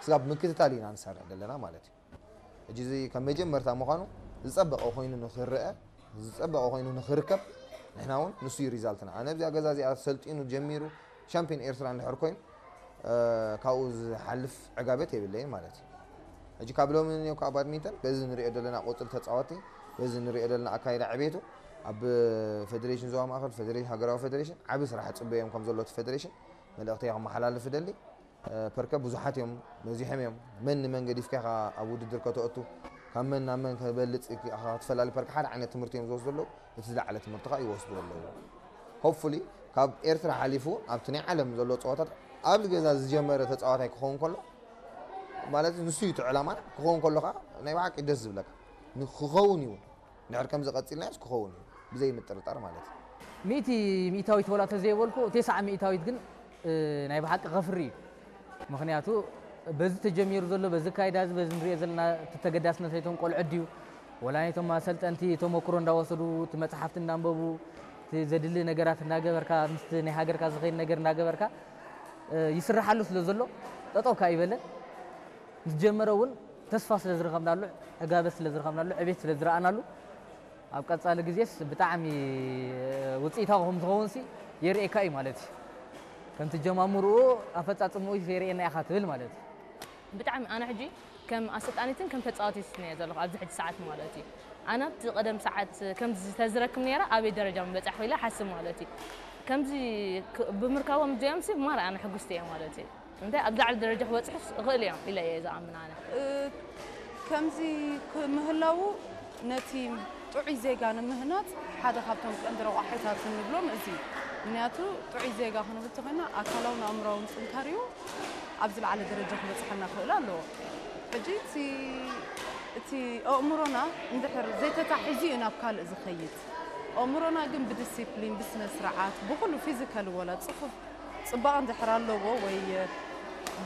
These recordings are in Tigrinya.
ስጋብ ምክትታል ኢና ንሰርሕ ዘለና ማለት እዩ። ሕጂ እዚ ካብ መጀመርታ ምዃኑ ዝጸበቐ ኮይኑ ንኽረአ፣ ዝጸበቐ ኮይኑ ንኽርከብ፣ ንሕና እውን ንሱ እዩ ሪዛልትና። ኣነ ኣብዚኣ ገዛ እዚኣ ሰልጢኑ ጀሚሩ ሻምፒዮን ኤርትራ እንድሕር ኮይኑ፣ እ፣ ካብኡ ዝሓልፍ ዕጋበት የብለይን ማለት እዩ። ሕጂ ካብ ሎሚ ንዮ ከዓ ባድሚንተን በዚ ንሪኦ ዘለና ቁፅሪ ተፃወቲ፣ በዚ ንሪኦ ዘለና ኣካይዳ ዕቤቱ ኣብ ፌደሬሽን ዞባ ማእኸል፣ ፌደሬሽን፣ ሃገራዊ ፌደሬሽን ዓቢ ስራሕ ፅበዮም ከም ዘሎ እቲ ፌደሬሽን መልእኽተይ ከመሓላልፍ እደሊ። እ፣ ፐርከ ብዙሓት እዮም በዚሖም እዮም። መን ንመን ገዲፍካ ኢኻ ኣብ ውድድር ከተእቱ፣ ካብ መን ናብ መን ከበልጽ ኢኻ ክትፈላሊ ፐርከ ሓደ ዓይነት ትምህርቲ እዮም ዝወስዱ ኣለዉ። እቲ ዝለዓለ ትምህርቲ ከዓ ይወስዱ ኣለዉ። ሆፕፉሊ ካብ ኤርትራ ሓሊፉ ኣብቲ ናይ ዓለም ዘሎ ፀዋታት ኣብዚ ገዛ ዝጀመረ ተፃዋታይ ክኸውን ከሎ ማለት ንሱ እዩ እቲ ዕላማና። ክኸውን ከሎ ከዓ ናይ ብሓቂ ደስ ዝብለካ ን-፣ ክኸውን እዩ። ድሕር ከምዚ ቀጺልናዮስ ክኸውን እዩ ብዘይ ምጥርጣር ማለት እዩ። ሚእቲ ሚእታዊት ወላ ተዘይበልኩ፣ ተስዓ ሚእታዊት ግን፣ እ፣ ናይ ብሓቂ ከፍሪ እዩ። ምኽንያቱ በዚ ተጀሚሩ ዘሎ፣ በዚ ኣካይዳ እዚ፣ በዚ ንሪኦ ዘለና፣ እቲ ተገዳስነት ናይቶም ቆልዑ ድዩ? ወላ ናይቶም ኣሰልጠንቲ ተመክሮ እንዳወሰዱ፣ እቲ መጽሓፍቲ እንዳንበቡ፣ እቲ ዘድሊ ነገራት እንዳገበርካ፣ ምስቲ ናይ ሃገርካ ዝኸይድ ነገር እንዳገበርካ፣ እ፣ ይስርሓሉ ስለ ዘሎ፣ ጠጠው ከኣ ኣይበለን። ምስ ጀመረ እውን ተስፋ ስለ ዝረኸብናሉ፣ ዕጋበት ስለ ዝረኸብናሉ፣ ዕቤት ስለ ዝረኣናሉ፣ ኣብ ቀጻሊ ግዜስ ብጣዕሚ ውጽኢታዊ ከም ዝኸውንሲ የርእየካ እዩ ማለት እዩ። ከምቲ ጀማምርኡ ኣፈጻጽምኡ የርእየና ኢኻ ትብል ማለት እዩ። ብጣዕሚ ኣነ ሕጂ ከም ኣሰልጣኒትን ከም ተጻዋቲትን እየ ዘለኹ ኣብዚ ሕጂ ሰዓት ማለት እዩ። ኣነ ኣብቲ ቀደም ሰዓት ከምዚ ተዝረክብ ነይረ ኣበይ ደረጃ ምበጻሕኩ ኢለ ሓስብ ማለት እዩ። ከምዚ ክ-፣ ብምርካቦም እዚኦምሲ ማራ ኣነ ሕጉስቲ እየ ማለት እዩ። እንታይ ኣብ ላዕሊ ደረጃ ክበጽሑስ እኽእል እዮም ኢለ እየ ዝኣምን ኣነ። እ፣ ከምዚ ክምህላዉ ነቲ ጥዑይ ዜጋ ንምህናጽ ሓደ ካብቶም ቀንዲ ረቋሒታት እንብሎም እዚ እዩ። ምኽንያቱ ጥዑይ ዜጋ ክንብል ተኾይና ኣካላውን ኣእምራውን ጥንካሪኡ ኣብ ዝለዓለ ደረጃ ክበጽሐና ክኽእል ኣለዎ። ሕጂ እቲ፣ እቲ ኣእምሮና እንድሕር ዘይተታሒዙ እዩ ናብ ካልእ ዝኸይድ። ኣእምሮና ግን ብዲሲፕሊን፣ ብስነ ስርዓት፣ ብኹሉ ፊዚካል ወላ ጽፉፍ ጽባቐ እንድሕር ኣለዎ ወይ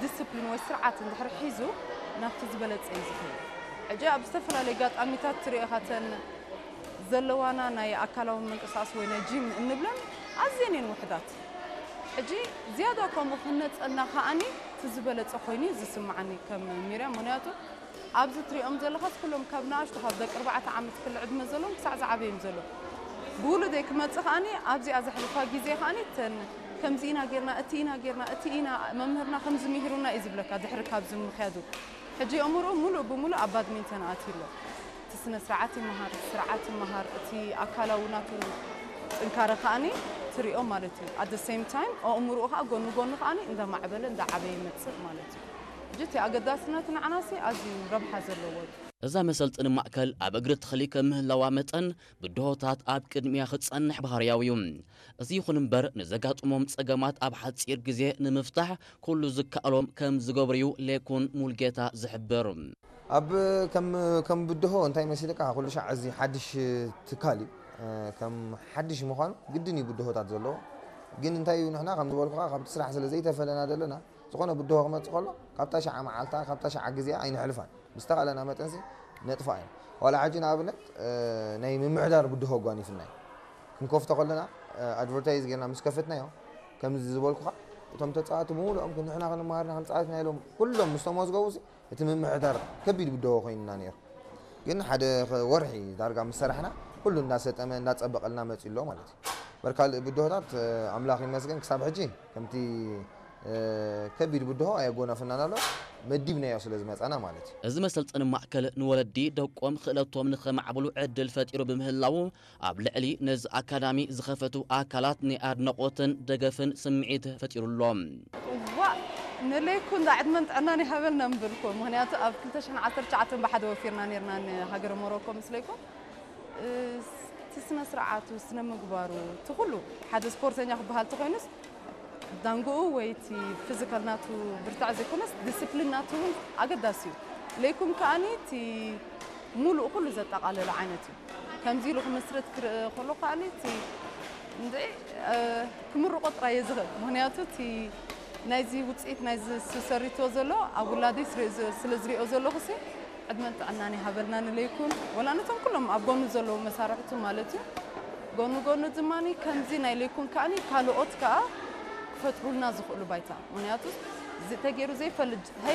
ዲስፕሊን ወይ ስርዓት እንድሕር ሒዙ ናብቲ ዝበለጸ እዩ ዝኸይድ። ሕጂ ኣብ ዝተፈላለዩ ኣጋጣሚታት ትሪኦ ኢኻ እተን ዘለዋና ናይ ኣካላዊ ምንቅስቓስ ወይ ናይ ጂም እንብለን ኣዝየን እየን ውሑዳት። ሕጂ ዝያዳ ከምኡ ክህነጸልና ከኣኒ እቲ ዝበለጸ ኮይኑ እዩ ዝስምዓኒ ከም ሚርያም። ምኽንያቱ ኣብዚ ትሪኦም ዘለኻስ ኩሎም ካብ ንኣሽቱ ካብ ደቂ ኣርባዕተ ዓመት ክሊ ዕድመ ዘለዎም ክሳዕ ዝዓበዩ እዮም ዘለዉ። ብውሉደይ ክመጽእ ከኣኒ ኣብዚኣ ዘሕልፋ ግዜ ከኣኒ እተን ከምዚ ኢና ጌርና፣ እቲ ኢና ጌርና፣ እቲ ኢና መምህርና ከምዚ ምሂሩና እዩ ዝብለካ ድሕሪ ካብዚ ምኽያዱ። ሕጂ ኣእምርኡ ሙሉእ ብሙሉእ ኣብ ባድሚንተን ኣትዩ ኣሎ። እቲ ስነ ስርዓት ይመሃር፣ ስርዓት ይመሃር፣ እቲ ኣካላዊ ናቱ ጥንካረ ከኣኒ ትሪኦ ማለት እዩ። At the same time ኣእምርኡ ከኣ ጎኒ ጎኒ ከኣኒ እንዳማዕበለ እንዳዓበየ ይመጽእ ማለት እዩ። ሕጂ እቲ ኣገዳስነት ንዓናሲ ኣዝዩ ረብሓ ዘለዎ እዩ። እዛ መሰልጠኒ ማእከል ኣብ እግሪ ተኽሊ ከም ምህላዋ መጠን ብድሆታት ኣብ ቅድሚያ ክጸንሕ ባህርያዊ እዩ። እዚ ይኹን እምበር ንዘጋጥሞም ጸገማት ኣብ ሓጺር ግዜ ንምፍታሕ ኩሉ ዝከኣሎም ከም ዝገብሩ እዩ ሌኩን ሙልጌታ ዝሕብር። ኣብ ከም፣ ከም ብድሆ እንታይ መሲልካ ኩሉ ሻዕ እዚ ሓድሽ ትካል እዩ። እ፣ ከም ሓድሽ ምዃኑ ግድን እዩ ብድሆታት ዘለዎ። ግን እንታይ እዩ ንሕና ከም ዝበልኩኻ ካብቲ ስራሕ ስለ ዘይተፈለና ዘለና ዝኾነ ብድሆ ክመጽእ ከሎ ካብታ ሸዓ መዓልታ ካብታ ሸዓ ግዜኣ ኣይንሕልፋን። ብዝተኻእለና መጠንሲ ነጥፋ እዮም። ዋላ ሕጂ ንኣብነት፣ እ፣ ናይ ምምሕዳር ብድሆ ኣጓኒፍና እዩ። ክንከፍቶ ከለና፣ እ፣ ኣድቨርታይዝ ጌርና ምስ ከፈትናዮ፣ ከምዚ ዝበልኩኻ፣ እቶም ተጻዋቲ ብምሉኦም ንሕና ክንመሃርና ክንጻወትና ኢሎም ኩሎም ምስ ተመዝገቡ ሲ፣ እቲ ምምሕዳር ከቢድ ብድሆ ኮይኑና ነይሩ። ግን ሓደ ኸ-፣ ወርሒ ዳርጋ ምስ ሰራሕና፣ ኩሉ እንዳሰጠመ፣ እንዳጸበቐልና መጺኡ ኣሎ ማለት እዩ። እምበር ካልእ ብድሆታት፣ እ፣ ኣምላኽ ይመስገን ክሳብ ሕጂ ከምቲ፣ እ፣ ከቢድ ብድሆ ኣየጎናፍናን ኣሎ። መዲብናዮ ስለ ዝመጻና ማለት እዩ። እዚ መሰልጠኒ ማእከል ንወለዲ ደቆም ክእለቶም ንኸማዕብሉ ዕድል ፈጢሩ ብምህላዉ፣ ኣብ ልዕሊ ነዚ ኣካዳሚ ዝኸፈቱ ኣካላት ናይ ኣድናቖትን ደገፍን ስምዒት ፈጢሩ ኣሎ። ዋእ! ንለይኩን ዳ ዕድመን ጥዕናን ይሃበልና ምበልኩ። ምኽንያቱ ኣብ ክልተ ሽሕን ዓሰርተ ትሽዓተን ብሓደ ወፊርና ነይርና ንሃገረ ሞሮኮ ምስ ለይኩን። እ፣ እቲ ስነ ስርዓቱ፣ ስነ ምግባሩ፣ እቲ ኩሉ ሓደ ስፖርተኛ ክበሃል ተኾይኑስ ዳንግኡ ወይ እቲ ፊዚካል ናቱ ብርታዕ ዘይኮነስ ዲስፕሊን ናቱ እውን ኣገዳሲ እዩ። ለይኩም ከኣኒ እቲ ሙሉእ ኩሉ ዘጠቓለለ ዓይነት እዩ። ከምዚ ኢሉ ክምስርት ክርኢ ከሎ ከኣኒ እቲ እንድዒ፣ እ፣ ክምርቖ ጥራይ እየ ዝኽእል። ምኽንያቱ እቲ ናይዚ ውፅኢት ናይዚ ዝሰሪቶ ዘሎ ኣብ ውላደይ ስለ፣ ስለ ዝሪኦ ዘለኹሲ ዕድመን ጥዕናን ይሃበልና ንለይኩን። ወላ ነቶም ኩሎም ኣብ ጎኑ ዘለዉ መሳርሕቱ ማለት እዩ። ጎኑ ጎኑ ድማ ከምዚ ናይ ለይኩን ከኣኒ ካልኦት ከኣ ክፈጥሩልና ዝኽእሉ ባይታ። ምኽንያቱ እዚ ተገይሩ ዘይፈልጥ